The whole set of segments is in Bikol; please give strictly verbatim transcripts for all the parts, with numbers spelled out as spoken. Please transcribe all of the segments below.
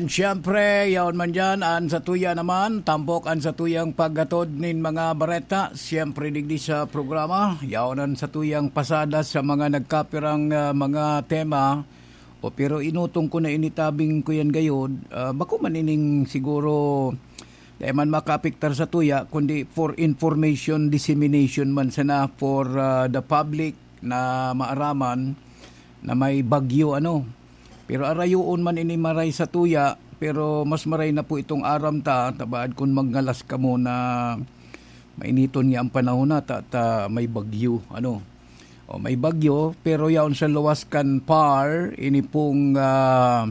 Siyempre, yaon man dyan, an satuya naman, tampok an satuyang paghatod nin mga bareta. Siyempre, digdi sa programa, yaon an satuyang pasada sa mga nagkapirang, ah, mga tema. O, pero inutong ko na ini tabing ko yan gayod. Ah, bako man ining siguro, dai man makaapektar sa tuya, kundi for information dissemination man sana for, ah, the public na maaraman na may bagyo, ano. Pero arayoon man ini maray sa tuya, pero mas maray na po itong aram ta, tabaad kun magngalas kamo na mainiton nga ang panahon na, ta, ta may bagyo, ano. O, may bagyo, pero yaon sa luwas kan par, ini pong, ah,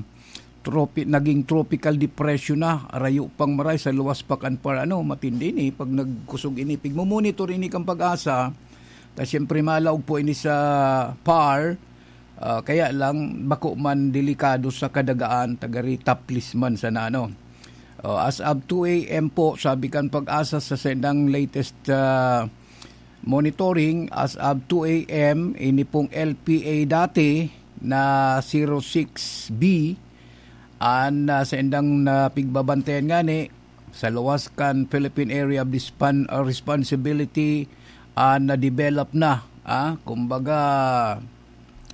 tropi-, naging tropical depression na, arayo pang maray sa luwas pa kan par, ano, matindi ni, pag nagkusog ini, pigmumonitor ini kan PAGASA, ta siyempre malaog po ini sa par, ah, kaya lang bako man delikado sa kadagaan, tagari taplis man sana, ano. Oh, as of two a m po, sabi kan PAGASA sa sendang latest, ah, monitoring, as of two a m, ini pong L P A dati na zero six B, an, ah, sendang napigbabantayan ngani, sa luwas kan Philippine Area of Dispan-, uh, Responsibility, ah, na-develop na, ah, kumbaga,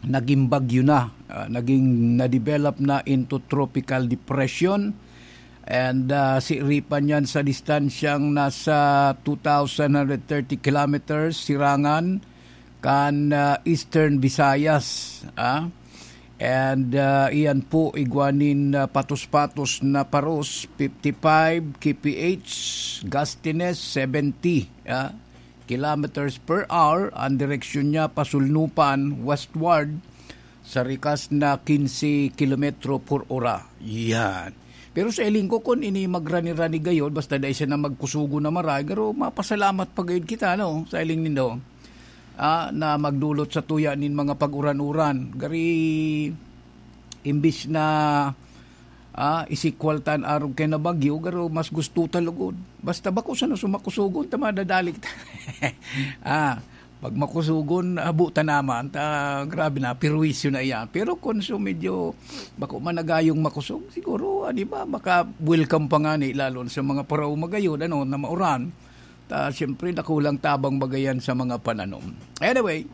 naging bagyo na, ah, naging na-develop na into tropical depression. And, ah, siiripan yan sa distansyang nasa two thousand one hundred thirty kilometers, sirangan, kan, ah, Eastern Visayas, ah. And, ah, iyan po, igwa nin, ah, patos-patos na paros, fifty-five K P H, gustiness, seventy, ah, kilometers per hour. Ang direksyon niya, pasulnupan, westward, sa rikas na quince kilometro por ora. Yan. Pero sa hiling ko, kun ini magrani-rani gayod, basta dai siya na magkusugo na maray, pero mapasalamat pa gayod kita, no, sa hiling nindo, ah, na magdulot sa tuya nin mga pag-uran-uran. Gari, imbis na, ah, isikwal ta an arog kaya na bagyo, garo mas gusto ta lugod. Basta bako sana sumakusugon ta madadali kita. Ah, pag makusugon, abo ta naman, ta grabe na, perwisyo na iyan. Pero kun so medyo bako man nagayong makusog, siguro, ano ba, baka welcome pa nga ni, lalo na sa mga paraoma gayod, ano, na mauran. Ta, siyempre, nakulang tabang bagayan sa mga pananom. Anyway,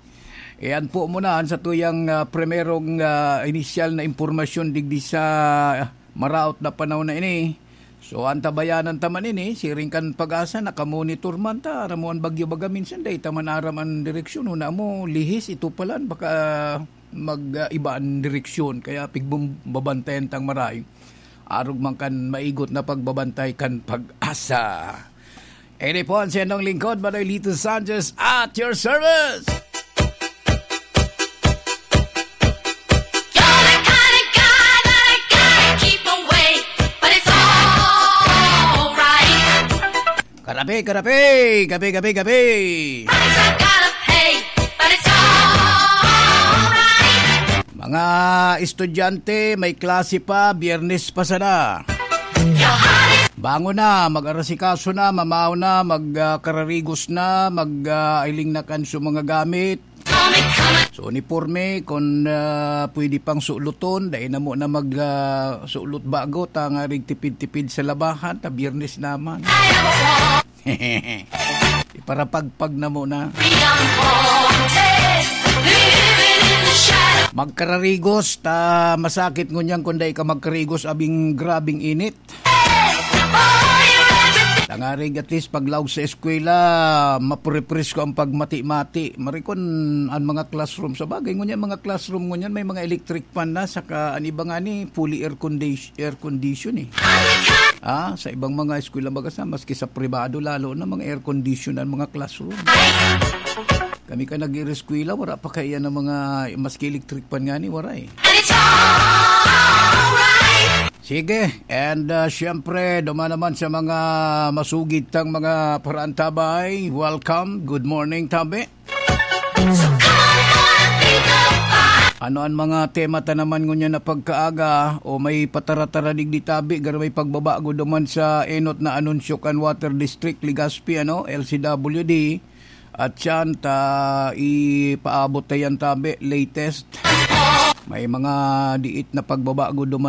iyan po muna an satuyang, ah, primerong, ah, inisyal na impormasyon digdi sa maraot na panahon na ini. So, antabayanan ta man ini, siring kan PAGASA, nakamonitor man ta, aram mo an bagyo baga minsan, dai ta man aram an direksyon, una mo, lihis, ito palan, baka mag, ah, iba an direksyon, kaya pigbum-, babantayan tang maray. Arog man kan maigot na pagbabantay kan PAGASA. Ini po ang siyendong lingkod, Manoy Lito Sanchez, at your service! You're the kind of guy that I gotta keep away, but it's alright. Karapi, karapi! Gabi, gabi, gabi! Price I gotta pay, but it's alright. Mga estudyante, may klase pa, Biyernes pa sana. Bangon na, mag-arasikaso na, mamaw na, mag, ah, kararigos na, mag, ah, iling na kan sa mga gamit. Sa uniporme, kung, ah, pwede pang suluton, dai na mo na mag, ah, sulot bago, tangarig tipid-tipid sa labahan, ta Biyernes naman. Iparapagpag na muna. Magkararigos, ta masakit ngunyan kung dai ka magkarigos, abing grabing init. Tangarig at least paglaog sa eskwela, maprepresko ang pagmati-mati. Marikon an mga classroom. Sa bagay, ngunyan mga classroom, ngunyan may mga electric fan na, saka an iba nga ni fully air condition, air condition eh. Ah, sa ibang mga eskwela baga sa, maski sa pribado, lalo na mga air condition ang mga classroom. Kami ka nag-ireskwela, wala pa kaya ng mga, maski electric fan nga ni, wala eh. And it's alright. Sige, and, ah, siyempre, duman naman sa mga masugid tang mga paraantabay. Welcome, good morning, tabi. So come on, people, pa. Ano ang mga tema ta naman ngunyan na pagkaaga o may pataratara digdi tabi, garo may pagbabago duman sa enot na anunsyo kan Water District, Legazpi, ano, L C W D? At siyan ta ipaabot ta yan tabi, latest. May mga diit na pagbabago duman